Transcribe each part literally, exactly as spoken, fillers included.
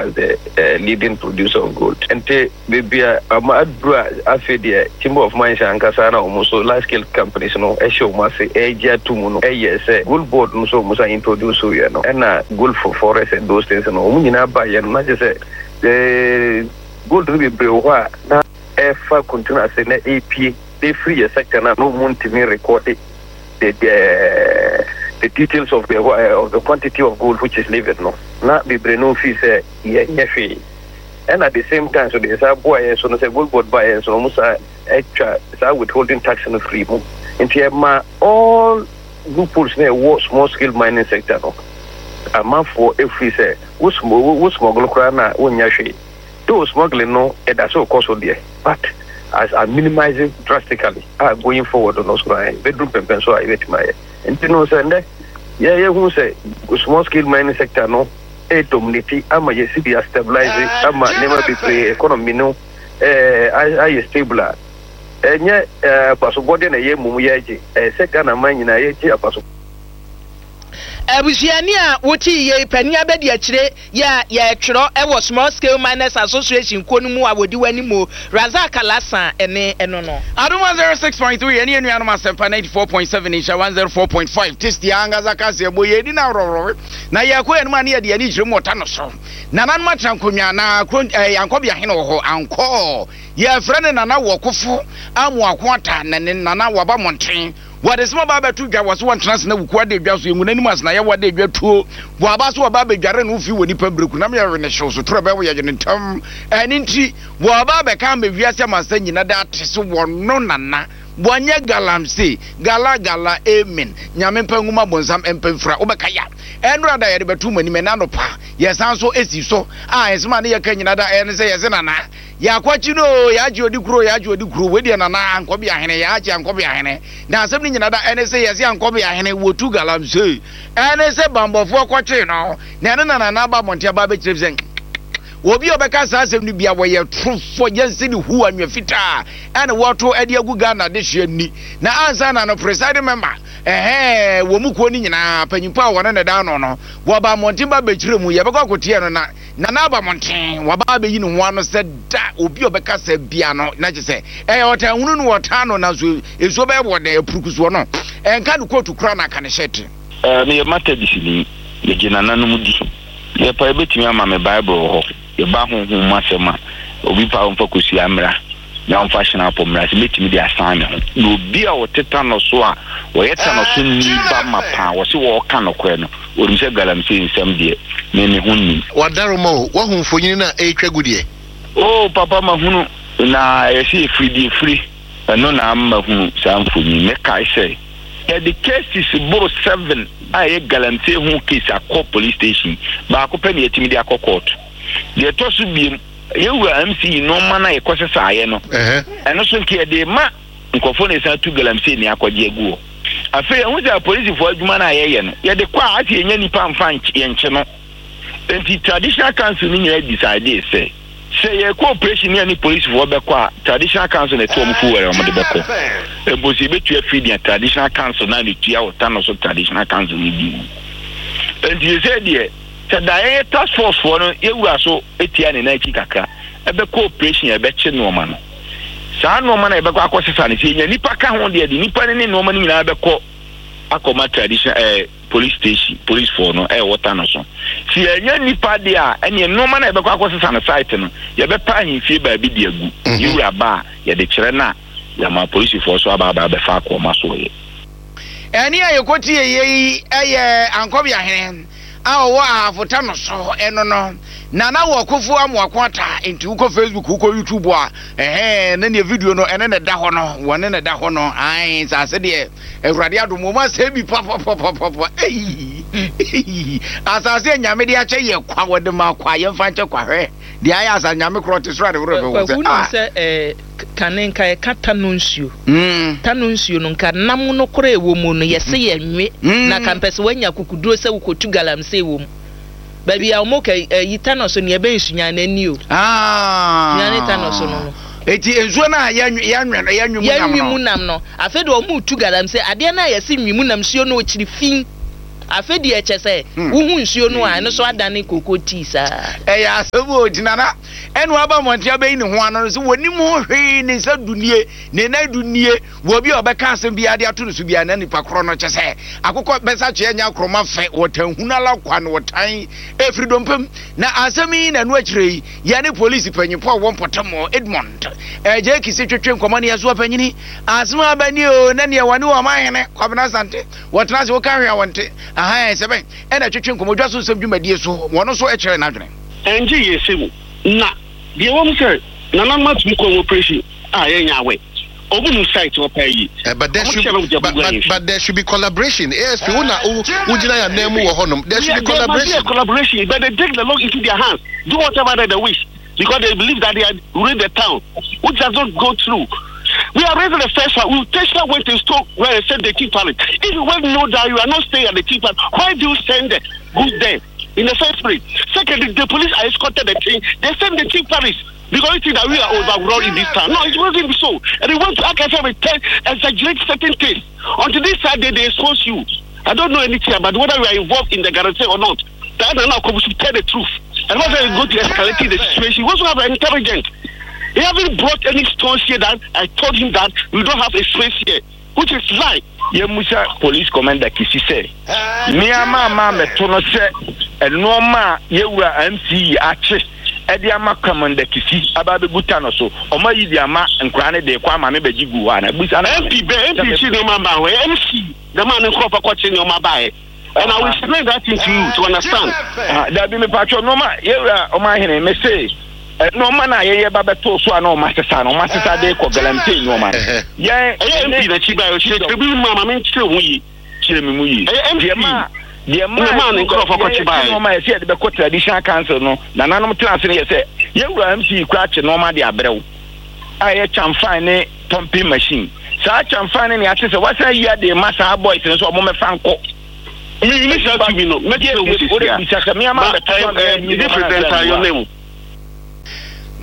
as the uh, leading producer of gold. Nti beebi a ama aduru a, afei deɛ Chamber of Mines ankasa na wɔn nso large scale companies no ɛhyɛ wɔn ase ɛregye ato mu no, ɛyɛ sɛ Gold Board no nso wɔn san introduce yɛ no, ɛna Gold for Forest and those things no, wɔn nyinaa ba yɛ no na kyerɛ sɛ ɛɛ gold no bebree wɔ hɔ a na ɛfa container ase na ɛrepie ɛfiri yɛ sector no a na wɔn ntumi record the the the details of the uh, of the quantity of gold which is leaving no, na bebree no fi sɛ yɛnyɛ hwee. Ɛna at the same time so deɛ saa boa yɛn so no sɛ Gold Board ba yɛn so no, wɔn saa atwa saa withholding tax no firi mu, nti ɛma all loopholes na ɛwɔ small scale mining sector no, amanfoɔ efiri sɛ wo wo smuggle koraa na wonnya hwee. Though smuggling no ɛda so kɔ so deɛ, but as I minimize it drastically a, going forward no so na bɛduru pɛmpɛn so a yɛbɛtumi ayɛ. Nti no sɛ ndɛ yɛyɛ sɛ small scale mining sector no ɛ dominate ama yɛsi bi stabilize ama nneɛma bebree, economy no ɛɛ ayɛ stable a, ɛnyɛ ɛɛ abasobɔdeɛ na ɛyɛ mum yɛgye, ɛyɛ sɛ Ghana man nyinaa yɛgye abaso. Abusuani a wote yie panin abɛdi akyire yɛ a yɛtwerɛ ɛwɔ Small Scale Miners Association kuo no mu a wɔdi w'anim o, Razak Alasa, ɛne ɛno no. Adom one oh six point three ɛne anuanom Asɛmpa ninety-four point seven, Nhyɛ one oh four point five. Tasty ankasa kaseɛ bɔ yɛdi no aworɔworɔ na yɛkɔ yɛnom a ne yɛde ani kyerɛ mu ɔta no so. Nananom atena nkonnwa na kuro ankɔbea hene wɔ hɔ ankɔ yɛfrɛ no Nana Wɔkofo Amoako Ata, na ne Nana waba mmɔnten wɔde sɛ ɔba abɛto dwa wɔ so wɔntena ase na wuku ade dwa so yɛngu n'anim ase na yɛwɔ ade dwa tuo wɔaba so wɔba abɛdware no fi wɔ nipa bereku nam yɛwe ne hyew so toro bɛwɔ yɛgye ne ntam. Ɛne nti wɔaba abɛka ama wiase amasa nyina da ate so wɔno Nana wɔnyɛ galamsey gala gala. Amen. Nyame mpa nwuma bonsam mpa mfira wobɛka ya ɛnora da yɛde bɛto mu anim. Ɛna anɔpa yɛsan so esi so a ɛsɛm a ne yɛka nyina da ɛne sɛ yɛse Nana yɛakɔkyi no yɛagye odi kuro, yɛagye odi kuro. Wei deɛ Nana ankɔbe ahene, yɛagye ankɔbe ahene na asɛm no nyina da ɛne sɛ yɛse ankɔbe ahene wɔtu galamsey, ɛne sɛ bambɔfoɔ kɔkyee no na ɛno na Nana aba mmɔnten aba bɛkyerɛ sɛ obi a ɔbɛka saa asɛm no bia wɔyɛ torofoɔ, yɛnsi ne hu anwea fitaa ɛne wɔto ɛde agu Ghana de hyɛ ni. Na ansa na no presiding member ɛhɛn wɔ mu kuo no nyinaa panyimpa a wɔne ne da no no wɔba mmɔnten ba bɛkyerɛ mu, yɛbɛkɔ akɔteɛ no na Nana aba mmɔnten wɔba abɛyi ne ho ano sɛ da obi a ɔbɛka sɛ bia no na kyɛ sɛ ɛyɛ ɔtan hunu no wɔtan no, nanso nsuo bɛyɛ wɔ dɛ apurukusoɔ no ɛnka ne kootu kora na aka ne hyɛte. Meyɛ Methodist ni, megye nananom di. Yɛpa yɛbɛtumi ama me Bible wɔ hɔ, yɛba honhom mu asɛm a obi pa ɔmfa kosua mmra na ɔmfa hyena apɔ mmra sɛ mɛtumi de asan me ho. Na obi a ɔte Tano so a wɔyɛ Tano so ni ba ma paa wɔ se wɔɔka nokorɛ no, onim sɛ galamsey nsɛm deɛ me me ho nnim. Wadaroma o, wahu mfonyini no a ɛretwa gu deɛ. O papa, mahunu na ɛyɛ sɛ yɛfiri deɛ firi ɛno na ama hunu saa mfonyin. Mɛkae sɛ yɛde cases boro seven a ɛyɛ galamsey ho case akɔ police station, baako pɛ ne yɛtumi de akɔ court. Deɛ ɛtɔ so biem, yɛwura M C nneɛma no a yɛkɔ sesaeɛ no, ɛno so nka yɛde ma nkɔfoɔ na ɛsan tu galamsey ne akɔgye agu hɔ. Afei ɛho sɛ apolisifoɔ adwuma no a yɛyɛ no, yɛde kɔ a ase yɛnya nipa mfa yɛnkye no. Nti traditional council no nyinaa decide sɛ sɛ yɛkɔ operation ne ɛne polisifoɔ bɛkɔ a, traditional council na ɛto ɔmo fo wɛrɛ ɔmo de bɛkɔ. Mpo sɛ yɛbɛtua firi deɛ traditional council na ne tua wɔ Tano so traditional council no bi mu. Nti sɛ deɛ sɛ da yɛyɛ task force foɔ no, yɛwura so etia ne nan akyi kakra ɛbɛkɔ operation, ɛbɛkye nneɛma no, saa nneɛma no yɛbɛkɔ akɔ sesa no, sɛ yɛnya nipa ka ho deɛ de nipa no ne nneɛma no nyinaa bɛkɔ akɔma tradition ɛɛ police station, police foɔ no ɛwɔ Tano so. Si yɛnya nipa deɛ a, ɛneɛ nneɛma no a yɛbɛkɔ akɔ sesa no site no, yɛbɛpa ahemfie baabi de agu. Yɛwura ba a yɛde kyerɛ no a, yɛama polisifoɔ so aba aba abɛfa akɔma so yɛ. Ɛne a yɛkɔtie yɛ yi ɛyɛ ankɔbea hene a ɔwɔ ahafota no so, ɛno no Nana wɔ Kofo Amoako Ata. Nti wokɔ Facebook, wokɔ YouTube a, ɛhɛn ne neɛ video no ɛne ne da hɔ no, wɔne ne da hɔ no. Ae nsase deɛ Awurade adom wɔn asɛ bi papapapapa. Eyi asase a Nyame de akyɛ yɛ kwa, wɔde ma kwa, yɛmfa nkyɛ kwa. Hwɛ deɛ ayɛ asa Nyame korɔ te soro ade worɔ bɛ wɔ sɛ ah sɛ ɛɛ kane nka yɛka Tano nsuo mm. Tano nsuo no nka nam no korɔ ɛwɔ mu no, yɛse yɛ nwe mm. Na ka mpɛ sɛ woanya kukuduro sɛ wokɔtu galamsey wɔ mu baabi a wɔn ka ɛyi Tano so nea ɛbɛn Sunyani ani o. Ah. Sunyani Tano so no no Eti nsuo no a yɛnwe yɛnwe no yɛnwe mu nam yɛnwe no mu nam no, afei de wɔn tu galamsey adeɛ no a yɛse nwe mu nam nsuo no, ɔkyiri fi. Afei deɛ, kyɛ sɛ wohu nsuo no a, ɛno so adane koko tii saa. Ɛyɛ asɛm o. Gyina na ɛna waba mmɔnten abɛyi ne ho ano no sɛ wɔnim ho hwee, ne nsa du nie, ne nan du nie. Wɔ bi a ɔbɛka asɛm biara de ato no so biara na nipa korɔ no kyɛ sɛ akokɔ bɛsa kyeɛ nya akorɔma fɛ wɔtan hunu ala kwa no wɔtan ɛfiri dompem. Na asɛm yi na ɛno akyerɛ yi, yɛne polisi panyimfo a wɔwɔ mpɔtam, Edmond ɛgye Kisi, twetwe nkɔmmɔ ne yɛso ɔpanyini asɛm aba ni o, na neɛ wɔne wɔ ɔman Kwabena Asante wɔtena ase woka hwee a wɔnte aha sɛ bɛn ɛna twetwe nkɔmmɔ dwa so nsɛm dwumadie so, wɔno nso kyerɛ n'adwene. Ɛngye yɛ sɛ mu na deɛ wɔm sɛ nananom atumi kɔ operation a yɛnyɛ awɛ ɔmo nim site wɔ paa yi. Uh, but there should but, but, but there should be collaboration. A S P, wo na wo gyina yɛ nan mu wɔ hɔnom. There should be There must be collaboration. A collaboration, but they take the law into their hands, do whatever that they wish, because they believe that they are ruling the town, which does not go through. We are raising the first one. We Tesla went and stole where they sent the chief palace. If you well know that you are not staying at the chief palace, why do you send the goods there in the first place? Secondly, the police are escorted the thing. They send the chief palace because you think that we are overrun in this town. No, it wasn't so. And they want to act as if we tell, exaggerate certain things. Until this Saturday, they expose you. I don't know anything about whether we are involved in the guarantee or not. That now we should tell the truth. And whether we go to escalating the situation, we also have intelligence. He haven't brought any stones here that I told him that we don't have a space here, which is lie. Yɛmusa Police Commander Kisi sɛ nneɛma ama mɛto no sɛ nneɛma a yɛwura M C E akye ɛde ama Commander Kisi aba abɛgu ta no so, ɔma yi de ama nkwaraa no de kɔ ama me bɛgye gu hɔ ana busa no. M P bɛ M P kyi nneɛma ba hɔ, M C the man nkurɔfoɔ kɔkye nneɛma baeɛ. And I will explain that thing to you to understand. Ah, dabi, mepatwɔ nneɛma yɛwura ɔma ahene me se nneɛma no a yɛyɛ ba bɛtoo so a na ɔma sesa no, ɔma sesa de kɔ galamsey nneɛma no yɛn. Ɛyɛ M P n'akyi ba ɔkyerɛ bi mu ama me nkyerɛ ho yie. Kyerɛ me mu yie. Ɛyɛ M P. Deɛ maa deɛ Ne maa ne nkurɔfoɔ kɔkye baeɛ. Nneɛma yɛ sɛ yɛde bɛkɔ Traditional Council no, nananom tena ase no yɛ sɛ yɛwura M C kura akye nneɛma de abrɛw a ɛyɛ kyamfan ne pumping machine. Saa kyamfan ne nea ate sɛ wasan yi ade ma saa boys no sɛ ɔmo mɛfa nkɔ. Mi mi saa tumi no mɛkyerɛ ho sisi Wode a. bisa sɛ me ama Ma bɛtɔ ɛ ɛ the presenter your name.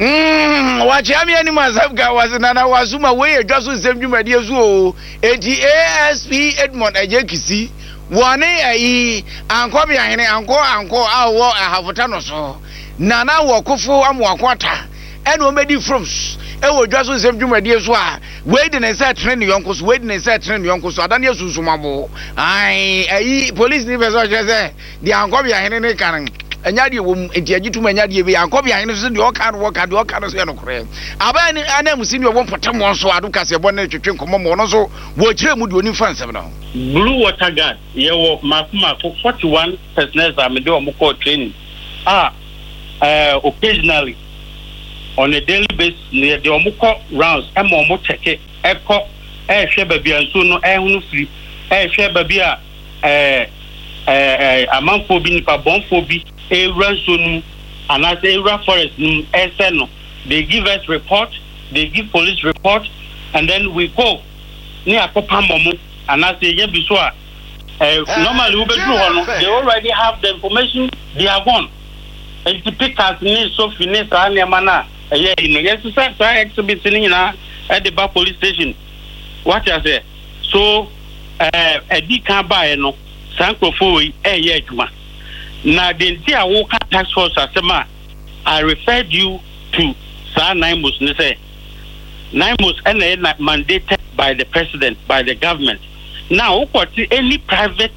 Mm, wakyea me anim asɛm ka wase nana wasoma wei yɛ dwa so nsɛm dwumadie so o. Enti A S P Edmond Agye Kisi wɔne ayi ankɔ ahene ankɔ ankɔ a wɔ ahafota no so nana wɔ kofo amoako ata ɛna wɔn bɛdi frums ɛwɔ dwa so nsɛm dwumadie so a, wei de ne nsa ɛtene ne yɔnko so, wei de ne nsa ɛtene ne yɔnko so, adane asunsum abo. Ayi ayi polisi ni pɛ sɛ ɔkyerɛ sɛ deɛ ankɔ ahene ne ka no ɛnya deɛ wɔ mu, nti agye tum ɛnya deɛ bi ankɔ ahene so deɛ ɔka no wɔka deɛ ɔka no so yɛ nokorɛ. Aban ne anam si ne ɔwɔ mpɔtam wɔn so ado kaseɛ bɔ ne twetwe nkɔmmɔ ma ɔno nso wɔkyerɛ mu deɛ onim fa nsɛm no. Blue Water Guard, yɛwɔ mako mako forty one personnel a mede wɔn kɔɔ training a uh, occasionally on a daily basis no yɛde wɔn kɔ rounds ɛma wɔn kyɛke ɛkɔ ɛɛhwɛ baabi a nsuo no ɛhono firi, ɛɛhwɛ baabi a ɛɛ ɛɛ amanfoɔ bi, nipa bɔnfoɔ bi ewura nsuo no mu anaasɛ ewura forest no mu ɛsɛ no. They give us report, they give police report, and then we go ne akɔpam wɔn anaasɛ yɛnya bi so a ɛɛ normally wobɛduru hɔ no, they already have the information, they are gone. Nti pickaxe ne sofi ne saa nneɛma no a ɛyɛ yi no, yɛsesa saa exhibit no nyinaa ɛde ba police station. Wate aseɛ? So ɛɛ ɛdi kan baeɛ no, saa nkurɔfoɔ yi ɛɛyɛ adwuma na de nti a woka task force asɛm a I referred you to saa NAIMOS ne sɛ NAIMOS ɛna ɛyɛ na mandated by the president, by the government. Now wokɔte any private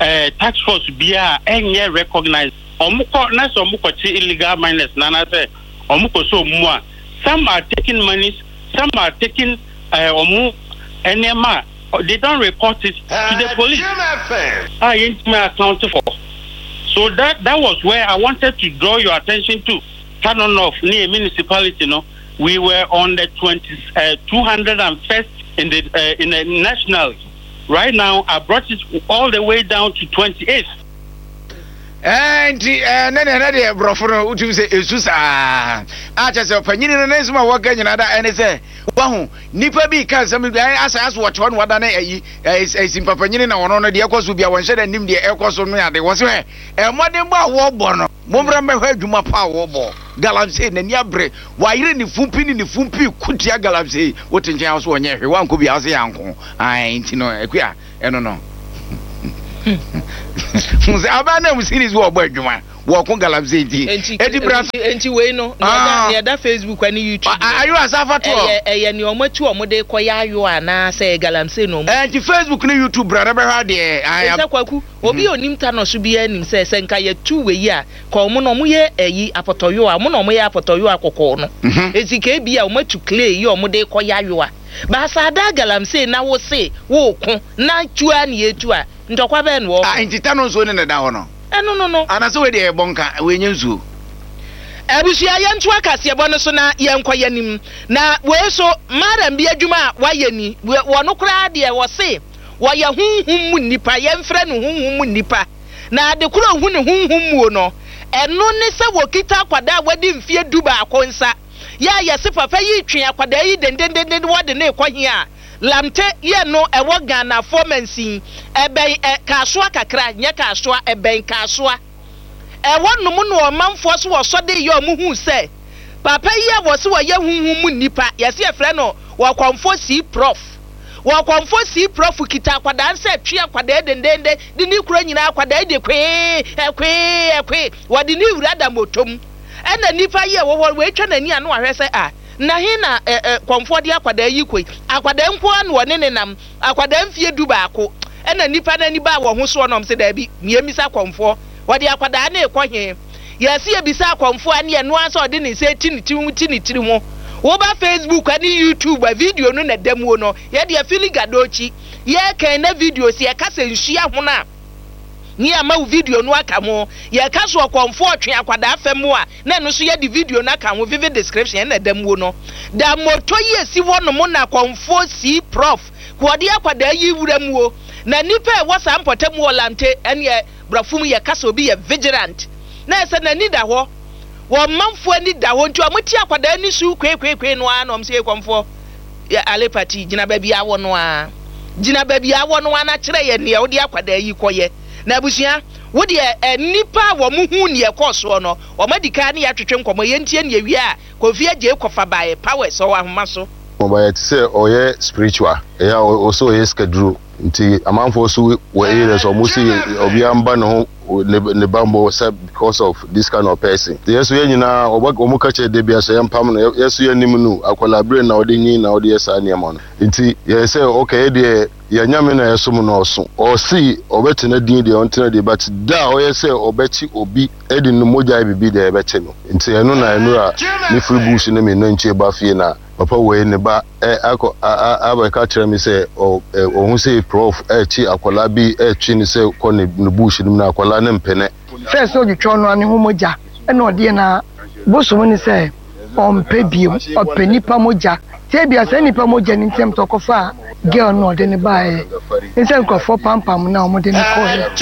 uh, task force biara ɛnyɛ recognized. Ɔmo kɔ na sɛ ɔmo kɔkye illegal miners na anaasɛ ɔmo kɔ so ɔmo mu a, some are taking monies, some are taking ɔmo uh, nneɛma a they don't report it to the police a yɛntumi account for. So that that was where I wanted to draw your attention to. Tano North near municipality no, we were on the twenty uh, two hundred and first in the uh, in the national. Right now I brought it all the way down to twenty-eighth. Nti ne ne ne deɛ borɔfo no wotumi sɛ ɛsu saa akyɛ sɛ ɔpanyini no ne nsɛm a wɔka nyina da ɛne sɛ wahu nipa bi ka nsɛm bi asɛ asɛ wɔte hɔ no wada ne ayi simpapanyini na ɔno no deɛ ɛkɔ so bia wɔnhyɛ da nim deɛ ɛkɔ so no ade wɔ sɛ ɛmmɔden bɔ a wɔbɔ no, mommra mmɛhwɛ adwuma pa a wɔbɔ. Galamsey n'ani abere, wayere ne fumpi ne ne fumpi kutia galamsey. Wote nkyɛn a so wɔnyɛ hwee, wankɔ bia wo sɛ yɛanko. Nti no akua ɛno no. Sɛ aban na mu series wɔ ɔbɔ adwuma wɔko galamsey nti eti bra. Nti wei no, nea ɛda Facebook ne YouTube. Ayo asafa to. Ɛyɛ ɛyɛ nea ɔmo atu ɔmo de kɔ yɛ ayo anaasɛ galamsey na ɔmo. Ɛnti Facebook ne YouTube bra na bɛhwɛ adeɛ. Ɛsɛ Kwaku, obi a onim ta no so bi anim sɛ sɛ nka yɛtu wei a ka ɔmo na ɔmo yɛ ɛyi apɔtɔyo a ɔmo na ɔmo yɛ apɔtɔyo a kɔkɔɔ no. Esi ka ebi a ɔmo atu clay yi ɔmo de kɔ yɛ ayo a baasa ada galamsey na wo se wo ko na tua ne yɛtu a ntɔkwa bɛn no wɔ. Ah, nti ta no nsuo ne na da hɔ no. Ɛno no no. Anase wei deɛ ɛbɔ nka wei nye nsuo. Abusua, yɛnto akaseɛbɔ no so na yɛnkɔ yɛnim. Na wei so madam bi adwuma a wayɛ ni, wɔno koraa deɛ wɔse wɔyɛ honhom mu nnipa, yɛmfrɛ no honhom mu nnipa. Na ade koro ohu ne honhom muo no, ɛno ne sɛ wɔkita akwadaa a wadi mfeɛ du baako nsa. Yɛ a yɛse papa yi twe akwadaa yi dendendenden wɔde ne kɔ hia a Lamte yɛ no ɛwɔ Ghanafoɔ mansin, ɛbɛn ɛ Kasoa kakra, nyɛ Kasoa, ɛbɛn Kasoa. Ɛwɔ nom no ɔmanfoɔ so wɔsɔ de yɛ ɔmo hu sɛ papa yi a wɔse wɔyɛ honhom mu nnipa, yɛse yɛfrɛ no wɔkɔmfoɔ sii prof. Wɔkɔmfoɔ sii prof kita akwadaa nsa atwe akwadaa dendenden de ne kuro nyinaa, akwadaa de kwee ɛkwee ɛkwee wɔde ne wura da motom. Ɛna nnipa yi a ɛwɔ hɔ wɔatwa n'ani ano ahwɛ sɛ a na he na ɛ ɛ kɔmfoɔ de akwadaa yi kɔ yi, akwadaa nko ara na ɔne ne nam, akwadaa mfie du baako. Ɛna nnipa n'ani baa wɔn ho soɔ na ɔmo sɛ daabi, mmiemisa kɔmfoɔ wɔde akwadaa ne kɔ he. Yɛsi ebisa akɔmfoɔ a ne yɛ noa sɛ ɔde ne nsa eti ne tiri ho ti ne tiri ho. Woba Facebook ne YouTube a video no na da muo no, yɛde afili gadokyi yɛkɛn na video si yɛka sɛ nsuo ahono a ne ama wo video no aka ho. Yɛka so ɔkɔmfoɔ ɔtwe akwadaa fam mu a na ɛno nso yɛde video no aka ho. Vivid description ɛna da muo no da moto yi esi hɔ nom na kɔmfoɔ si prof wɔde akwadaa yi wura muo. Na nipa a ɛwɔ saa mpɔtam wɔ Lamte ɛneɛ borɔfo mu yɛka sɛ obi yɛ vigilant na ɛsɛ n'ani da hɔ, wɔn manfoɔ ani da hɔ, nti wɔn ti akwadaa ni su kwekweekwe no ara na wɔn sɛ kɔmfoɔ yɛ alepati gyina baabi awɔ no ara, gyina baabi awɔ no ara na kyerɛ yɛ nea wɔde akwadaa yi kɔyɛ. Na abusua wo deɛ ɛ nipa a wɔn hu nea ɛkɔɔ soɔ no, wɔn adi kan ne yɛatwetwe nkɔmɔ. Yɛntie nea wie a Kofi Agye kɔfa baeɛ powers ɔwɔ ahoma so. Ɔbayɛ te sɛ ɔyɛ spiritual, ɛyɛ ɔsɛ ɔyɛ sikaduro, nti amanfoɔ so wɔ area so ɔmo si obiara mba ne ho ne ne bambɔ sɛ because of this kind of person. Yɛ so yɛn nyinaa ɔbɛ ɔmo ka kyerɛ de bia sɛ yɛn pam no, yɛ so yɛn nim no akwadaa bere na ɔde nyin na ɔde yɛ saa nneɛma no. Nti yɛ sɛ okay, yɛ deɛ yɛn Nyame na yɛsom no, ɔso ɔsi ɔbɛtena din deɛ ɔntena deɛ, but da a ɔyɛ sɛ ɔbɛkyi obi ɛde ne mogya yɛ bibi deɛ ɛbɛkye no. Nti ɛno na ɛno a ne firi bush ne me nantwie ba fie na papa wei ne ba ɛ akɔ a a abɛka kyerɛ me sɛ ɔ ɛ ɔho sɛ prof ɛkyi akwadaa bi ɛkyi ne sɛ kɔ ne ne bush no mu na akwadaa ne mpene. First ɔdwetwa ɔno ane ho mogya ɛna ɔdeɛ na bosom ne sɛ ɔmpɛ biem, ɔpɛ nipa mogya. Tie bia sɛ nipa mogya ne ntɛm tɔ kɔfa girl no ɔde ne baeɛ ne sɛ nkurɔfoɔ pampam na ɔmode ne kɔɛ.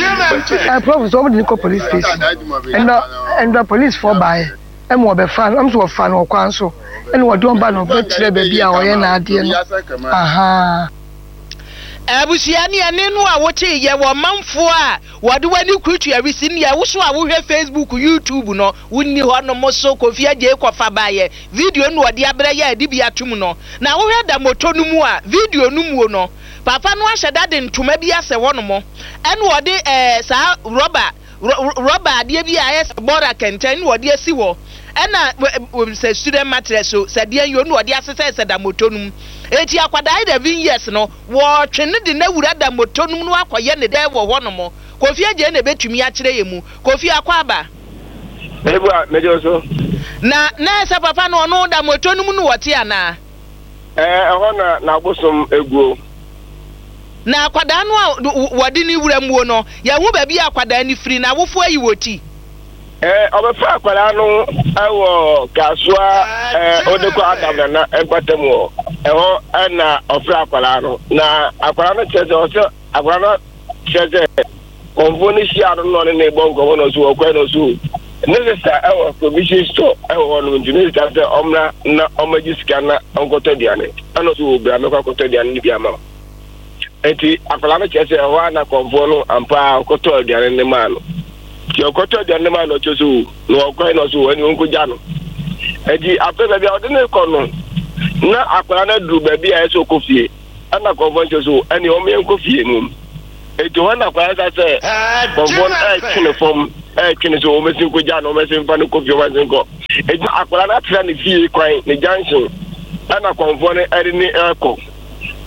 Ɛ prof sɛ ɔmode ne kɔ police station, ɛnna ɛnna policefoɔ baeɛ ɛma ɔbɛfa no, ɔmo sɛ wɔfa no ɔkwan so ɛna wɔde ɔba no ɔbɛkyerɛ baabi a ɔyɛ n'adeɛ no ahaa. Abusua, ne ɛne no a wote yɛ wɔ manfoɔ a wɔde w'ani kurutu awisi ne ɛwoso a wohwɛ Facebook, YouTube no wonni hɔ nom so. Kofi Agye kɔfa baeɛ video no wɔde abrɛ yɛ ade bi atom no na wohwɛ da moto no mu a video no muo no, papa no ahyɛ da de ntoma bi asɛ hɔ nom ɛna wɔde ɛɛ saa rɔba rɔba adeɛ bi a ayɛ sɛ bɔra kɛntɛn na wɔde asi hɔ, ɛna sɛ student mattress o sɛ deɛ yɛ no wɔde asesɛ sɛ da moto no mu. Eti akwadaa eleven years no wɔɔtwe ne de n'awura da moto no mu no akɔyɛ ne dɛ wɔ hɔ nom. Kofi Agye na ebetumi akyerɛ yɛ mu. Kofi, akɔ aba. Ebu a mɛgye so. Na na ɛsɛ papa no ɔno da moto no mu no wɔte anaa? Ɛɛ, ɛhɔ na n'abosom eguo. Na akwadaa no a wɔde ne wura muo no, yɛho baabi a akwadaa no firi na awofoɔ ayi wɔ ti. Ɛɛ, ɔbɛfa akwadaa no ɛwɔ Kasoa ɛɛ ɔde kɔ Adam Nana mpata mu hɔ, ɛhɔ ɛna ɔfrɛ akwadaa no na akwadaa no kyerɛ sɛ ɔsɛ akwadaa no kyerɛ sɛ kɔnfo no hyia no na ɔne ne bɔ nkɔmɔ na ɔso ɔkɔɛ na ɔso ne sista ɛwɔ provision store ɛwɔ hɔ nom, nti ne sista sɛ ɔmmra na ɔmmɛgye sika na ɔnkɔtɔ aduane, ɛna ɔso wɔ bra mɛkɔ akɔtɔ aduane no bi ama wo. Nti akwadaa no kyerɛ sɛ ɛhɔ a na kɔnfoɔ no ampa a ɔkɔtɔ aduane no maa no, nti ɔkɔtɔ aduane no maa no, ɔkyerɛ sɛ o na ɔkɔɛ na ɔso ɛne ɔnkɔgya no. Nti afei baabi a ɔde ne kɔ no na akwadaa no aduru baabi a ɛsɛ ɔkɔ fie, ɛna kɔnfoɔ no kyerɛ sɛ ɛne ɔmo yɛn kɔ fie mu. Eti hɔ na akwadaa sa sɛ kɔnfoɔ no ɛretwe ne fam, ɛretwe ne so, wɔn bɛsi nkogya no, wɔn bɛsi nfa no kɔ fie, wɔn bɛsi nkɔ. Eti akwadaa no atena ne fie kwan ne junction, ɛna kɔnfoɔ no ɛde ne ɛrekɔ.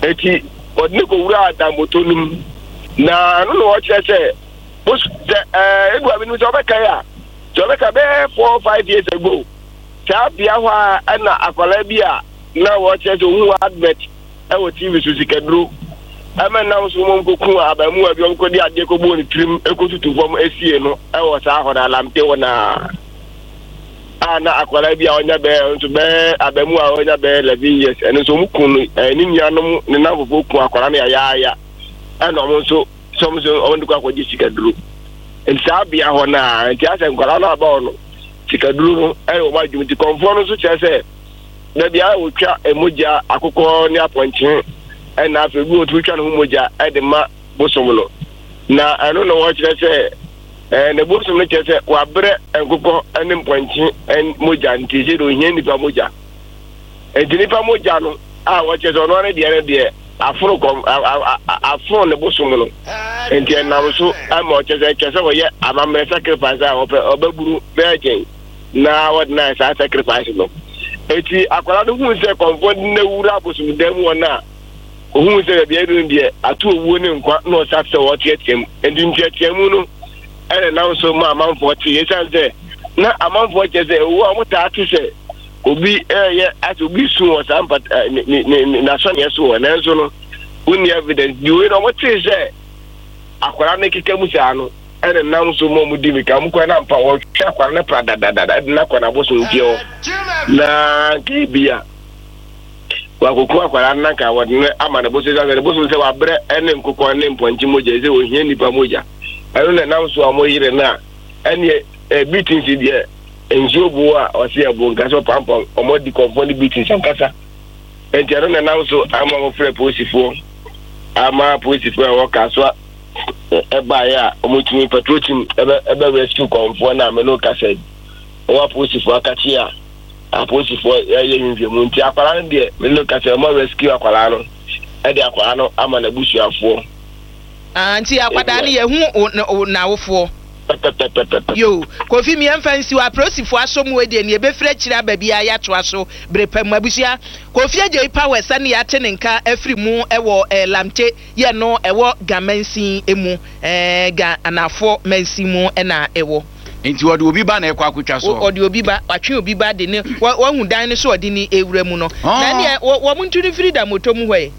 Eti ɔde ne kɔwura adamoto no mu, na ɛno na wɔkyerɛ sɛ bos sɛ ɛɛ edu abi no sɛ ɔbɛka yi a, sɛ ɔbɛka bɛyɛ four five years ago, saa bea hɔ a ɛna akwadaa bi a na wɔkyerɛ sɛ ohun advert ɛwɔ T V so, sikaduro ɛmɛ nam so wɔn kɔku abamuwa bi, wɔn kɔdi adeɛ kɔbɔ ne tirim ekotutu fam esie no ɛwɔ saa hɔ na Lamte hɔ na a na akwadaa bi a ɔnya bɛyɛ nso bɛyɛ abamuwa a ɔnya bɛyɛ eleven years, ɛno nso wɔn kun no, ɛɛ ne nuanom ne nan foforɔ kun akwadaa no yayaaya, ɛna wɔn nso sɛ wɔn nso wɔn de kɔ akɔgye sikaduro. Nti saa bea hɔ naa nti asɛ nkwadaa no aba hɔ no, sikaduro no ɛyɛ wɔn adwuma. Nti kɔnfoɔ no nso kyerɛ sɛ dabi a wɔtwa mogya akokɔ ne apɔnkye, ɛna afei bi wɔtumi twa ne ho mogya ɛde ma bosom no, na ɛno na wɔkyerɛ sɛ ɛɛ ne bosom no kyerɛ sɛ wabrɛ nkokɔ ne mpɔnkye mogya, nti sɛ de ohia nipa mogya. Nti nipa mogya no a wɔkyerɛ sɛ ɔno ano deɛ no deɛ aforo kɔm aforo ne bosom no, nti ɛnam so ama ɔkyerɛ sɛ kyerɛ sɛ wɔyɛ amammerɛ sacrifice a wɔpɛ ɔbɛburu bɛɛgyɛn na wɔde na saa sacrifice no. Eti akwadaa no hu sɛ kɔnfɔ ne wura abosom dan mu hɔ no a, ohun sɛ baabi adu no deɛ ato owuo ne nkwa, na ɔsa sɛ wɔteɛteɛ mu. Nti nteɛteɛ mu no ɛna nam so ma amanfoɔ te, esiane sɛ na amanfoɔ kyerɛ sɛ owu a wɔn taa te sɛ obi ɛyɛ asɛ obi sun wɔ saa mpata ne ne ne n'asɔneɛ so wɔ, nanso no wonni evidence di wei na wɔn te sɛ akwadaa no keka mu saa no, ɛna nam so ma wɔn di mika wɔn kɔ na mpa wɔhwɛ akwadaa no pra dadadada ɛde n'akɔ n'abosom fie hɔ, na nka ebi a wakoko akwadaa no nanka wɔde no ama ne bosom sɛ ne bosom sɛ wabrɛ ɛne nkokɔ ne mpɔnkye mogya, sɛ ohia nipa mogya. Ɛno na nam so a wɔn yere no a ɛne ɛ beatings deɛ nsuo bo a ɔsi ɛbo nka sɛ ɔpampam wɔn adi kɔnfɔn ne beatings ankasa. Nti ɛno na nam so ama wɔn frɛ polisifoɔ, ama polisifoɔ a ɛwɔ Kasoa ɛbaeɛ a wɔtumi patrol team ɛbɛ ɛbɛ rescue kɔnfoɔ na ameno kasa yi wɔn apolisifoɔ akakye a apolisifoɔ ɛyɛ nhwehwɛmu. Nti akwadaa no deɛ meno kasa wɔn rescue akwadaa no, ɛde akwadaa no ama n'abusuafoɔ. Ah, nti akwadaa no yɛhu n'awofoɔ? Pɛpɛpɛpɛpɛ. Yo, Kofi, mmiɛnfa nsi hɔ. Apolisifoɔ aso mu deɛ nea ebɛfiri akyire aba biara yɛatoa so bere pa mu. Abusua, Kofi Agye Power sani yɛate ne nka afiri mu ɛwɔ ɛɛ Lamte yɛ no ɛwɔ Ga mansin mu, ɛɛ Ga Anafoɔ mansin mu ɛna ɛwɔ. Nti wɔde obi ba na ɛkɔ akotwa soɔ? Ɔde obi ba, watwe obi ba de ne wahu dan no so, ɔde ne ewura mu no na neɛ wɔn ntu no firi da moto mu hɔ yi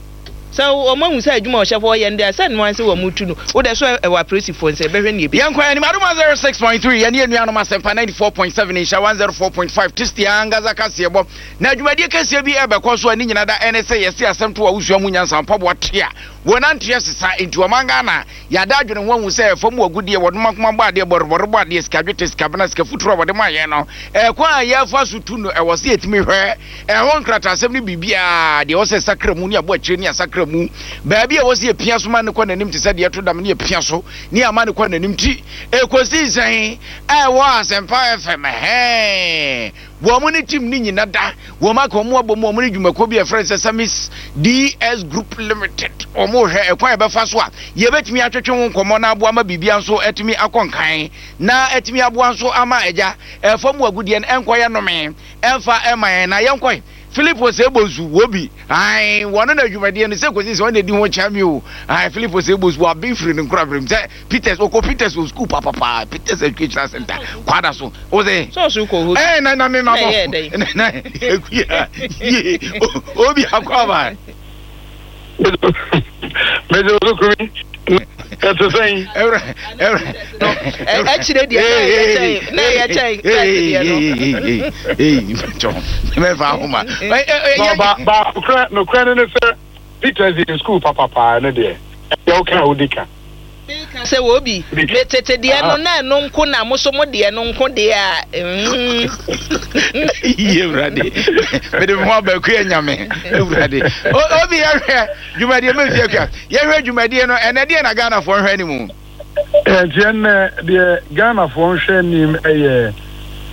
sɛ wɔn ahu sɛ adwuma a ɔhyɛ hɔ yɛ no deɛ sɛ noa sɛ wɔn tu no wodɛ so ɛwɔ apolisifoɔ nsɛ bɛhwɛ ne ebi. Yɛnkɔ anim. Adom zero six point three, yɛne anuanom Asɛmpa ninety-four point seven, Nhyɛ one oh four point five, Tasty ankasa kaseɛbɔ. Na dwumadie kɛseɛ bi ɛbɛkɔ so a ne nyina da ɛne sɛ yɛse asɛm to a wosua mu nyansa mpaboa te a wɔnanteɛ sesa. Nti ɔman Ghana yɛada adwene ho ahu sɛ fam wɔ agudeɛ wɔdom akoma bɔ adeɛ bɔrebɔre bɔ adeɛ sika dwetɛ, sika bena, sika futuro a wɔde ma yɛn no, ɛkwan a yɛfa so tu no, ɛwɔ sɛ yɛtumi hwɛ ɛho nkrataasɛm no biribiaa deɛ ɛwɔ sɛ sakra mu ne abɔ akyire ne asakra mu baabi a ɛwɔ sɛ yɛpia so ma ne kɔ n'anim te sɛ deɛ ɛto dam ne yɛpia so ne ama ne kɔ n'anim. Ti ɛkɔsii sɛn ɛwɔ Asɛmpa F M hɛn wɔn mo ne team ne nyina da wɔn aka wɔn abɔ mu, wɔn ne dwumakuo bi a yɛfrɛ no sɛ Samis D S Group Limited. Wɔn hwɛ ɛkwan a yɛbɛfa so a yɛbɛtumi atwetwe ho nkɔmmɔ na aboa ma biribia nso atumi akɔ nkan na atumi aboa nso ama agya ɛfa mu agudeɛ no ɛnkɔyɛ nnome ɛmfa ɛma yɛn. Na yɛnkɔe Philip Osei-Bonsu wɔ bi ae wɔn na adwumadeɛ no sɛ kɔsi sɛ wɔn na di ho kyɛn mi o. Ae, Philip Osei-Bonsu waben firi ne nkorabere sɛ Peters, ɔkɔ Peters wɔ school papapa, Peters Educational Center Kwada so o sɛ sɔɔso kɔ hɔ. Ɛɛ na na mi ma Na ɛyɛ dɛn? bɔ na ekuya yie obi akɔ aba. Mede osukumi ɛte sɛn? Ɛwura ɛwura. Akyire deɛ na ɛyɛ kyɛn na ɛyɛ kyɛn first deɛ no. Mɛfa ahoma. No, ba ba nokorɛ nokorɛ no ne sɛ Peters yɛ school papapaa no deɛ ɛyɛ woka a wodi ka. Sɛ wɔ bi me tete deɛ no na ɛno nko na mo so mo deɛ no nko deɛ a mm. Yie Awurade, mede me ho aba akua nyame Awurade. Obi yɛhwɛ dwumadie mɛmfi akua yɛhwɛ dwumadie no ɛnɛ deɛ na Ghanafoɔ nhwɛ anim. Nti ɛnnɛ deɛ Ghanafoɔ nhwɛ anim yɛ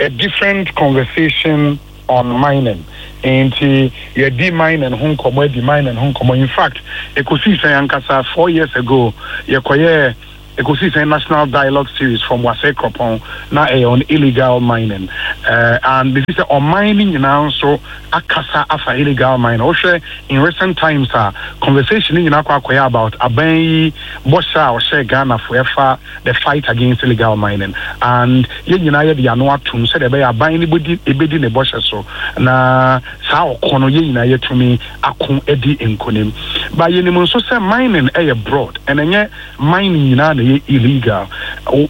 a different conversation on mining. Nti yɛdi mining ho nkɔmmɔ, adi mining ho nkɔmmɔ. In fact, ɛkɔsii sɛn ankasa, four years ago yɛkɔyɛɛ ɛkɔsii sɛn national dialogue series from Wassa Akropong na ɛyɛ on illegal mining, uh, and bɛfi sɛ ɔman no nyinaa nso akasa afa illegal mining. Wohwɛ in recent times a, conversation no nyinaa kɔ akɔyɛ about aban yi bɔhyɛ a ɔhyɛ Ghanafoɔ ɛfa the fight against illegal mining, and yɛn nyinaa yɛde ano atom sɛdeɛ ɛbɛyɛ aban no bɛdi ɛbɛdi ne bɔhyɛ so na saa ɔko no yɛn nyinaa yɛtumi ako adi nkonim. But yɛnim nso sɛ mining ɛyɛ broad and ɛnyɛ mining nyinaa na ɛyɛ illegal.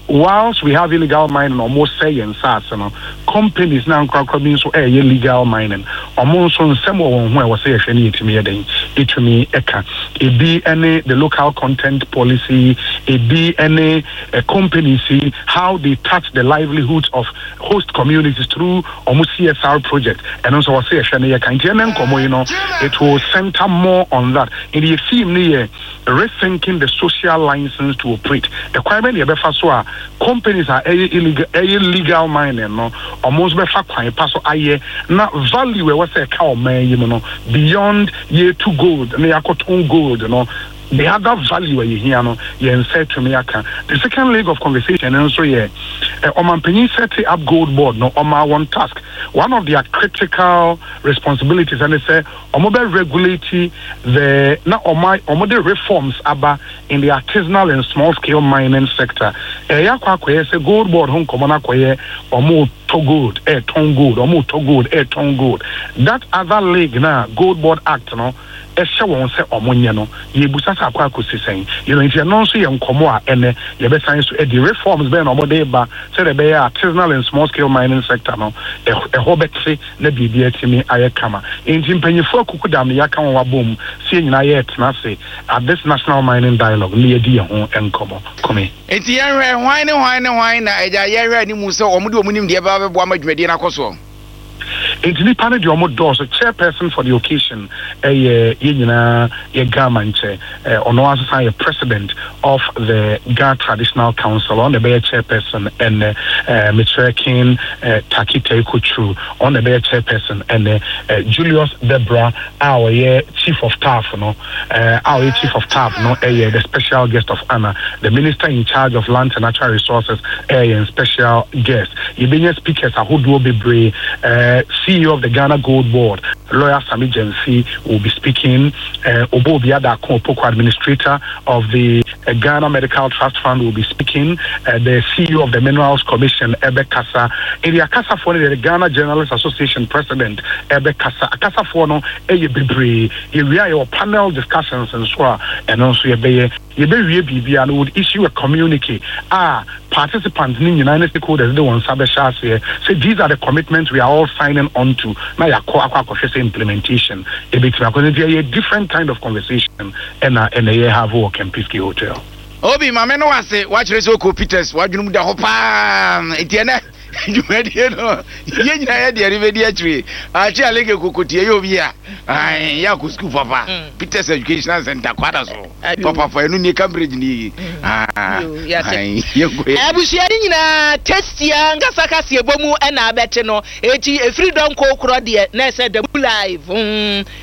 Whilst we have illegal mining, ɔmo sɛ yɛn nsaase no, companies na nkorakora bi nso ɛyɛ legal mining. Ɔmo nso nsɛm wɔ wɔn ho a ɛwɔ sɛ yɛhwɛ no yɛtumi yɛ den ɛtumi ɛka ebi ɛne the local content policy, ebi ɛne uh, companies yi, how they touch the livelihoods of host communities through ɔmo C S R project. Ɛno nso wɔ sɛ yɛhwɛ no yɛka. Nti ɛnɛ nkɔmmɔ yi no, it will center more on that. Nti yɛ theme no yɛ "Rethinking the social license to operate". Ɛkwan bɛ ne yɛbɛfa so a companies a ɛyɛ illegal, ɛyɛ legal mining no, ɔmo nso bɛfa kwan pa so ayɛ na value ɛwɔ sɛ ɛka ɔman yi mu no, beyond yɛtu gold na yɛakɔtɔn gold no, the other value a yɛhia no, yɛn nsa atumi aka. The second leg of conversation no nso yɛ ɔmanpanyin set up Gold Board no, ɔma one task, one of their critical responsibilities ɛne sɛ ɔmo bɛ regulate the na ɔmo ɔmo de reforms aba in the artisanal and small scale mining sector. Ɛyɛ akɔ akɔyɛ sɛ Gold Board ho nkɔmɔ no akɔyɛ ɔmo tɔ gold, ɛɛtɔn gold, ɔmo tɔ gold, ɛɛtɔn gold. That other leg na Gold Board Act no ɛhyɛ wɔn sɛ ɔmo nyɛ no, yɛbusa sɛ akɔ akɔsi sɛn you know Nti ɛno nso yɛ nkɔmɔ a ɛnɛ yɛbɛsan so ɛdi reforms bɛyɛ na ɔmo de ba sɛdeɛ ɛbɛyɛ artisanal and small scale mining sector no ɛhɔ bɛte na biribi atumi ayɛ kama. Nti mpanyinfoɔ akuku dam no yɛaka wɔn abom si yɛn nyinaa yɛ tena ase at this national mining dialogue ne yɛdi yɛn ho nkɔmɔ kɔmi. Nti yɛhwɛ hwan ne hwan ne hwan na agya yɛhwɛ anim sɛ ɔmo de ɔmo nim deɛ ɛbɛba bɛboa ma dwumadie no akɔ soɔ? Nti nipa no deɛ, ɔmo dɔɔso. Chairperson for the occasion ɛyɛ yɛn nyinaa yɛ Ghana nkyɛ ɔno asesan yɛ president of the Ga Traditional Council. Ɔno na ɛbɛyɛ chairperson ɛnɛ. ɛɛ mekyerɛ King ɛɛ Tackie Teiko Tsuru, ɔno na ɛbɛyɛ chairperson ɛnɛ. ɛɛ Julius Debrah a ɔyɛ chief of staff no ɛɛ a ɔyɛ chief of staff no ɛyɛ the special guest of honour. The minister in charge of Land and Natural Resources ɛyɛ special guest. Yɛbɛnya speakers ahodoɔ bebree. ɛɛ C E O of the Ghana Gold Board, Lawyer Sammy Gyamfi, will be speaking. Uh, Obuobia Darko Opoku, administrator of the uh, Ghana Medical Trust Fund, will be speaking. Uh, the C E O of the Minerals Commission, ɛbɛkasa. Eri akasafoɔ, the Ghana Journalists Association president, ɛbɛkasa. Akasafoɔ no, ɛyɛ bebree. Yɛwie a, yɛwɔ panel discussions and so a, ɛno nso yɛbɛyɛ. Yɛbɛwie biribia no, would issue a communique a participants ne nyinaa ne stakeholders de wɔn nsa bɛhyɛ aseɛ sɛ these are the commitments we are all signing on to, na yɛakɔ akɔ akɔhwɛ sɛ implementation ebɛtumi akɔ. Nti ɛyɛ different kind of conversation ɛna ɛna yɛ have wɔ Kempinski Hotel. Obi maame no wase wakyerɛ sɛ ɔkɔ Peters wadwene mu da hɔ paa. Nti ɛnɛ dwumadie no, yɛn nyinaa yɛ deɛ ne bɛdi akyire akyi aleke kokotie yɛ obi a yɛ akɔ sukuu papa, Peters Educational Center kwada so papafa. Ɛno nie, Cambridge ni. Abusua no nyinaa tastia nkasa kaseɛ bɔ mu ɛna abɛte no. Eti efiri dɔnko korɔ deɛ na ɛsɛ dabu live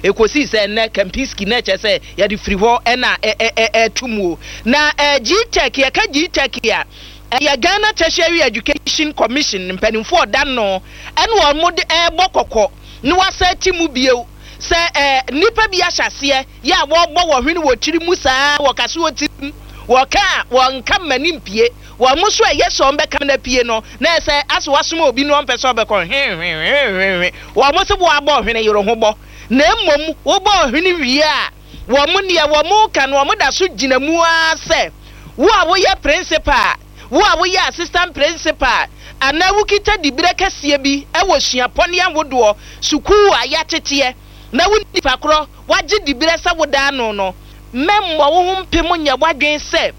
ekosi sɛ nnɛ Kempinski na ɛkyɛ sɛ yɛde firi hɔ ɛna ɛɛtu mu o. Na ɛɛ G T E C, yɛka G T E C a, ɛyɛ Ghana Tertiary Education Commission mpanimfoɔ ɔda no ɛna wɔn de ɛɛbɔ kɔkɔ na wasa ti mu bio sɛ ɛɛ nipa bi ahyɛ aseɛ yɛ a wɔrebɔ wɔn hwene wɔ tiri mu saa, wɔkasa wɔ tiri mu, wɔka a wɔnka mmani mpie wɔn mo so. Ɛyɛ sɛ wɔn bɛka na pie no na ɛsɛ asɛ wasoma obi no, ɔmpɛ sɛ ɔbɛkɔ hwehwehwehwehwe. Wɔn mo sɛ wɔabɔ hwene yere ho bɔ na mmom wɔbɔ hwene wie a, wɔn mo neɛ wɔn mo ka no, wɔn da so gyina mu ara sɛ wo a woyɛ principal, wo a woyɛ assistant principal anaa wokita dibere kɛseɛ bi ɛwɔ suapɔne ahodoɔ sukuu a yɛateteɛ na wo nipa korɔ wagye dibere sɛ wodaa no no, mmɛmmɔ wo ho mpem nyɛ w'adwen sɛ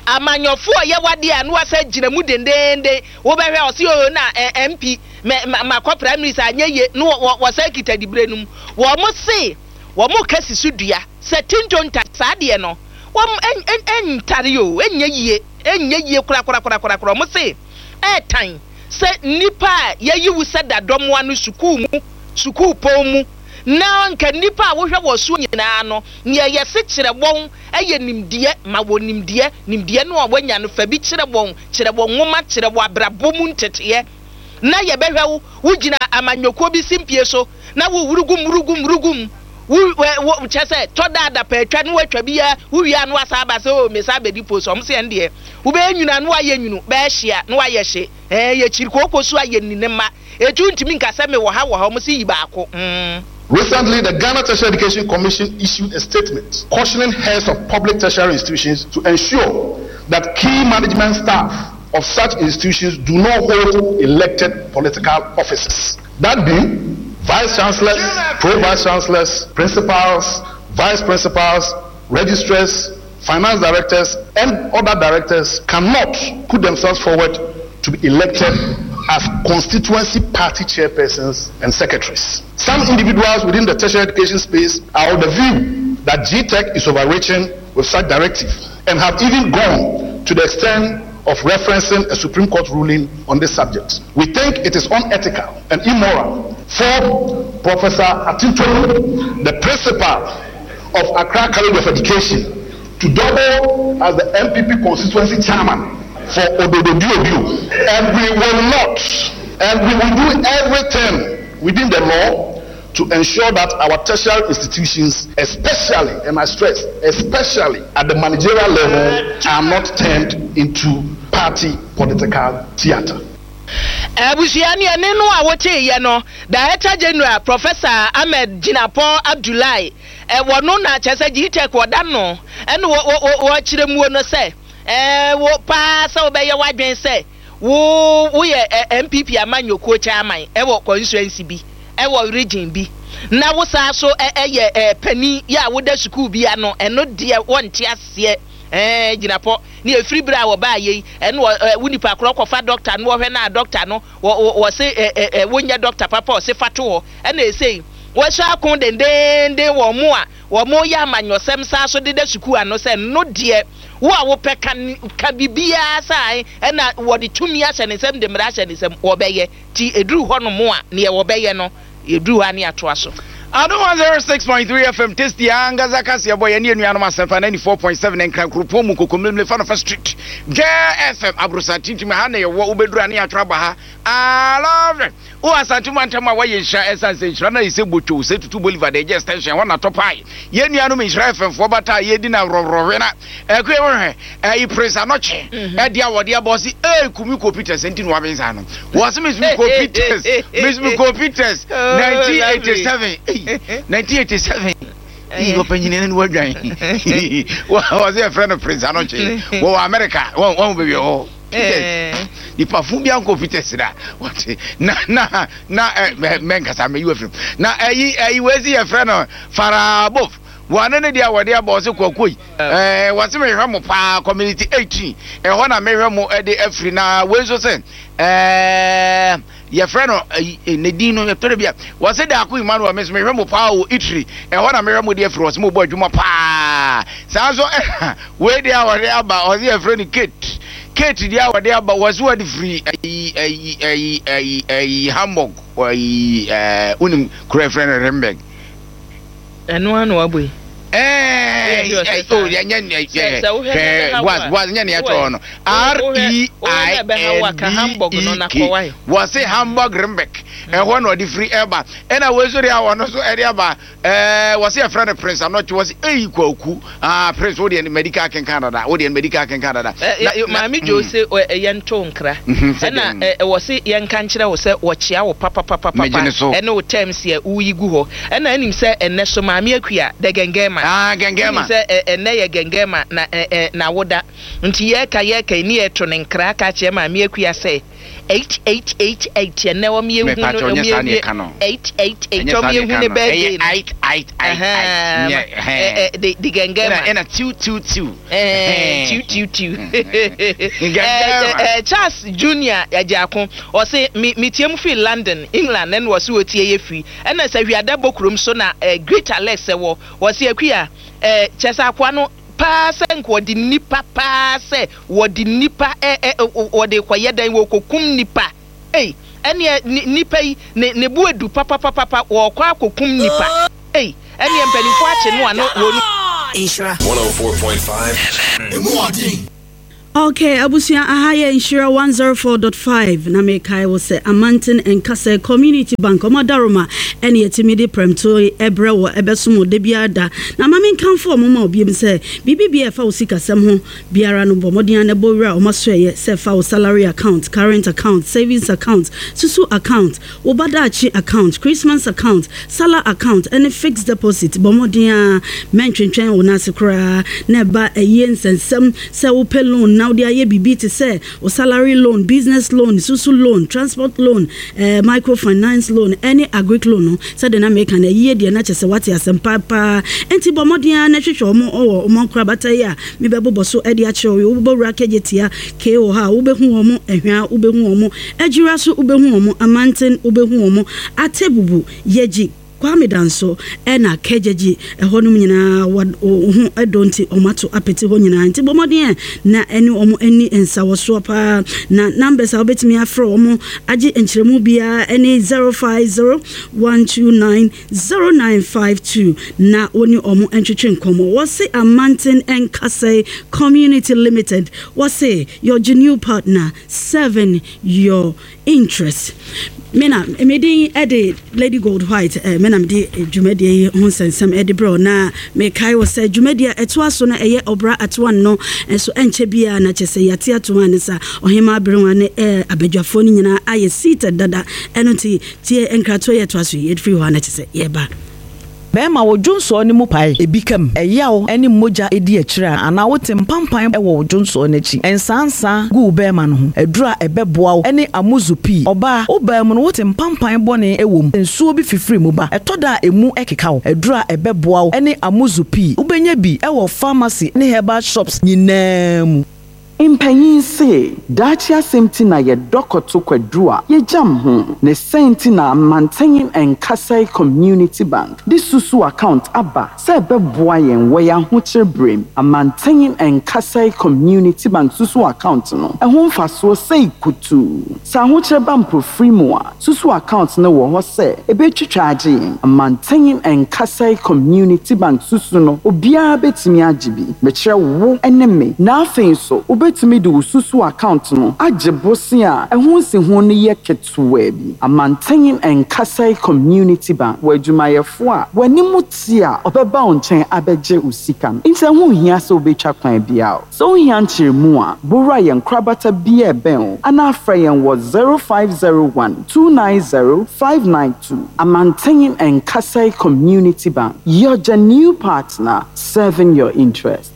amanyɔfoɔ yɛ wadeɛ a na wasa gyina mu dendenden. Wobɛhwɛ ɔsi o na ɛ M P mɛ ma makɔ primaries anyɛ yie na wɔ wɔsa kita dibere no mu. Wɔn mo se wɔn mo kasi so dua sɛ tintonta saa deɛ no, wɔn ɛn ɛn ɛntare o, ɛnyɛ yie, ɛnyɛ yie korakorakorakorakora. Wɔn se ɛɛtan sɛ nipa a yɛyi wo sɛ dadɔmoa no sukuu mu Sukuupɔn mu na nka nnipa a wohwɛ wɔ so nyinaa no, nea yɛse kyerɛ wɔn yɛ nimdeɛ. Ma wɔn nimdeɛ. Nimdeɛ no a wɔanya no, fa bi kyerɛ wɔn. Kyerɛ wɔn nwoma, kyerɛ wɔn abrabɔ mu nteteeɛ. Na yɛbɛhwɛ wo, wogyina amanyɔkuo bi simpie so na wo wurugum wurugum wurugum. Wo, wo, kyerɛ sɛ, tɔ da adapaatwa na woatwa bi a, wowie a na woasan aba sɛ, oh, mesan abɛdi post. Wɔn se ɛndeɛ, wobɛyɛ nwunu a na woayɛ nwunu, bɛyɛ hye a na woayɛ hye. Ɛɛ, yɛkyiri kooko so a yɛnni ne mma. Enti wontumi nka sɛ mewɔ ha wɔ ha, wɔn se yi baako. Mm. Recently, the Ghana Tertiary Education Commission issued a statement cautioning heads of public tertiary institutions to ensure that key management staff of such institutions do not hold elected political offices. That being, vice chancellors, pro-vice chancellors, principals, vice principals, registrars, finance directors, and other directors cannot put themselves forward to be elected as constituency party chairpersons and secretaries. Some individuals within the tertiary education space are of the view that G T E C is overreaching with such directive and have even gone to the extent of referencing a Supreme Court ruling on this subject. We think it is unethical and immoral for Professor Atitolu, the principal of Accra College of Education, to double as the N P P constituency chairman for Odododiodio. And we will not, and we will do everything within the law to ensure that our tertiary institutions, especially, and I stress, especially at the managerial level, are not turned into party political theatre. Abusua ne ɛne no a woteeɛ no, Director General Professor Ahmed Jinapor Abdullahi, ɛwɔ no na kyerɛ sɛ G T E C wɔda no ɛne wɔkyerɛ muo no sɛ ɛɛ wo paa sɛ wobɛyɛ w'adwen sɛ wo woyɛ N P P amanyɔkuo chairman ɛwɔ constituency bi, ɛwɔ region bi, na wo saa so ɛyɛ ɛɛ panin yɛ a woda sukuu bi ano, ɛno deɛ wɔnte aseɛ. Ɛɛ Jinapor ne efiri bere a wɔbaa yɛ yi, ɛno wɔ ɛ wo nipa korɔ kɔfa dɔkta no, wɔhwɛ na dɔkta no wɔ wɔ wɔse ɛ ɛ ɛ wonyɛ dɔkta papa, ɔse fa to hɔ. Ɛna esei wɔhyɛ ako dendenden wɔn mo a wɔn yɛ amanyɔsɛm saa so deda sukuu ano sɛ no deɛ, wo a wopɛ ka ka biribiara saa, ɛna wɔde tumi ahyɛ ne nsam, de mmara ahyɛ ne nsam, wɔbɛyɛ ti eduru hɔ nom a neɛ wɔbɛyɛ no, eduru hɔ a ne atoa so. Adom one oh six point three F M, Tasty ankasa kaseɛ bɔ yɛne anuanom Asɛmpa ninety-four point seven Nkran kuropɔn mu, Kokomlemle fa no fa street, Gɛ F M aborosa tintim ha na yɛwɔ. Wobɛduru a ne yɛatwerɛ aba ha. I love it. Wo Asante mu antam a woayɛ nhyira, ɛsiane sɛ nhyira no ayɛ sɛ botwo sɛ Tutu Bolivar de ɛgye extension hɔ na tɔ pae. Yɛn nuanom Nhyira F M foɔ bata a yɛdi na worɔworɔwe na ɛkue wohwɛ ɛyi Prince Anɔkye ɛde a wɔde abɔ se ee kumi kɔ Peters nti na wabensa no wɔse mesumi kɔ Peters, mesumi kɔ Peters nineteen eighty-seven, nineteen eighty-seven yi ɔpanyini no wadwan. Wɔsɛ yɛfrɛ no Prince Anɔkye, wɔwɔ America, wɔn baabi hɔ Peters nipa fun bi ankɔ Peters da wɔte na na na ɛ mɛ mɛnkasa mɛ yi wɔ firim na ɛyi ɛyi wɔsi yɛfrɛ no Farabof, wɔne ne deɛ wɔde abɔ ɔsɛ kɔkɔ yi ɛɛ wɔsi mehwɛ mo paa, Community eighteen ɛhɔ na mehwɛ mo ɛde afiri. Na wei nso sɛ ɛɛ yɛfrɛ no ɛyi ne din no yɛtɔrɔ bi a wɔsi Daako Emmanuel, mɛ mehwɛ mo paa wɔ Itiri ɛhɔ na mehwɛ mo de afiri. Wɔsi mo bɔ adwuma paa saa nso. Ɛna wei deɛ a wɔde aba, ɔsi yɛfrɛ no Kate, Kate deɛ a wɔde aba, wɔsi wɔde firi ɛyi ɛyi ɛyi ɛyi ɛyi Hamburg, ɛyi ɛɛ wonim kuro yɛfrɛ no Rimberg. Ɛno ano wabɔ yi. Ɛɛ o yɛnyɛ hwɛ boaz boaz nyɛ nea ɛtɔ no R E I N B E K, wɔsi Hamburg Rimberg ɛhɔ na ɔde firi ɛba. Ɛna wei nso deɛ a wɔno nso ɛde aba, ɛɛ wɔsi yɛfrɛ no Prince Anɔkye, wɔsi eyi Kwaku, aa Prince wo deɛ medical kenkan dada, wo deɛ medical kenkan dada. Maame Jo se yɛnto nkra, ɛna wɔsi yɛnka nkyerɛ wo sɛ wɔkyea wo papapapapa ɛne wo terms yɛ woyi gu hɔ. Ɛna anim sɛ ɛnɛ so Maame Akua the gɛngɛma. Ah, gɛngɛma. Sɛ ɛnɛ yɛ gɛngɛma na na woda nti yɛka yɛka ni yɛto ne nkra ka kyerɛ Maame Akua sɛ eight eight eight eight ɛnɛ wɔn yɛ hu no, wɔn yɛ hu eight eight eight, wɔn yɛ hu ne birthday no. Eight eight eight eight. De de gɛngɛma. Ɛna two two two. Two two two. Charles Junior Agyako ɔse mi mi tie mu fi London, England, ɛna ɔse otie yɛ firi. Ɛna sɛ hwiada bɔ kurom so na Great Alex ɛwɔ, wɔse Akuya ɛɛ kyɛ sɛ akoa no paa sɛ nka wɔde nipa paa sɛ wɔde nipa ɛ ɛ wɔde kɔyɛ dan, wɔkɔkum nipa. Ei, Ɛneɛ nipa yi ne ne bo edu papapapa, wɔkɔ akɔkum nipa. Ei, ɛneɛ mpanimfoɔ akye no a no wɔn. Nhyira one oh four point five F M. Okay, abusua, aha yɛ Nhyira one oh four point five na mekae wo sɛ Amanten Nkasɛ Community Bank ɔmo adaroma ɛne yɛtumi de prɛmto ɛbrɛ wɔ ɛbɛsom wo da biara da. Na ma menkamfo ɔmo ma obiam sɛ biribi bia ɛfa wo sikasɛm ho biara no, bɔ mmɔden a na ɛbɔ wura ɔmo asoɛyɛ sɛ ɛfa wo salary account, current account, savings account, susu account, wo badaakye account, Christmas account, salary account ɛne fixed deposit. Bɔ mmɔden a mɛntwentwɛn wo n'ase koraa na ɛba ɛyie nsɛnsɛm sɛ wopɛ loan na wode ayɛ biribi te sɛ wo salary loan, business loan, susu loan, transport loan, eh, microfinance loan ɛne agric loan no. Sɛde na meka no, ɛyie deɛ na kyɛ sɛ wate asɛm paapaa. Enti bɔ mmɔden a na hwehwɛ ɔmo ɔwɔ ɔmo nkorabata yi a mebɛbobɔ so ɛde akyerɛ wo. Wobɛbɔ wura kɛgye tia kee wɔ hɔ a, wobɛhu wɔn ɛhwea, wobɛhu wɔn agyira so, wobɛhu wɔn amanten, wobɛhu wɔn Atebubu, Yɛgyi, Kwame Danso ɛna Kɛgyegye ɛhɔnom nyinaa wo ho ɛdɔ nti ɔmo ato apete hɔ nyinaa. Nti bɔ mmɔden ɛ na ɛne ɔmo ani nsawɔsoɔ paa. Na numbers a wobɛtumi afrɛ ɔmo agye nkyerɛmu biara ɛne zero five zero one two nine zero nine five two na wɔne ɔmo ntwetwe nkɔmmɔ. Wɔse Amanten Nkasɛe Community Limited, wɔse your genuine partner serving your interest. Mena medin ɛde Lady Gold White. eh, mena mede dwumadie yi ho nsɛnsɛm ɛde brɛ, na mekae wɔ sɛ dwumadie a ɛtoa so no ɛyɛ Ɔbra Atoa no nso ɛnkyɛ biara na kyɛ sɛ yɛate atoa ne sa ɔhema aberewa ne eh, abadwafoɔ no nyinaa ayɛ seated dada. Ɛno nti tie nkratoɔ yɛ ɛtoa so yi, yɛfiri hɔ a na kyɛ sɛ yɛba. Bɛrima, wo dwonsɔɔ no mu pae, ebi kam, ɛyaw ne mogya edi akyire a, anaa wote mpampan wɔ wo dwonsɔɔ no akyi, nsansa gu wo bɛrima no ho, aduru a ɛbɛboa wo ne Amuzu Pii. Ɔbaa, wo baa mu no wote mpampan bɔne wɔ mu, nsuo bi fifiri mu ba, ɛtɔ da a emu ɛkeka wo, aduru a ɛbɛboa wo ne Amuzu Pii. Wobɛnya bi wɔ pharmacy ne herbal shops nyinaa mu. Mpanyin se daakye asɛm ti na yɛdɔ kɔto kwaduru a yɛgyam ho ne sɛn nti na Amanten Nkasɛe Community Bank de susu account aba sɛ ɛbɛboa yɛn wɔ yɛn ahokyere berem. Amanten Nkasɛe Community Bank susu account no, ɛho mfasoɔ sɛi kutuu. Sɛ ahokyere ba mpofiri mu a, susu account no wɔ hɔ sɛ ɛbɛtwitwa agye yɛn. Amanten Nkasɛe Community Bank susu no, obiara bɛtumi agye bi, mekyerɛ wo ne me. Na afei nso wobɛtumi de wo susu account no agye bose a ɛho nsiho no yɛ ketewaa bi. Amanten Nkasɛe Community Bank wɔ adwumayɛfoɔ a w'anim te a ɔbɛba wo nkyɛn abɛgye wo sika no, nti ɛho nhia sɛ wobɛtwa kwan biara. Sɛ wohia nkyerɛmu a, bowura yɛn korabata bi a ɛbɛn wo anaa frɛ yɛn wɔ zero five zero one two nine zero five nine two. Amanten Nkasɛe Community Bank, your genuine partner serving your interest.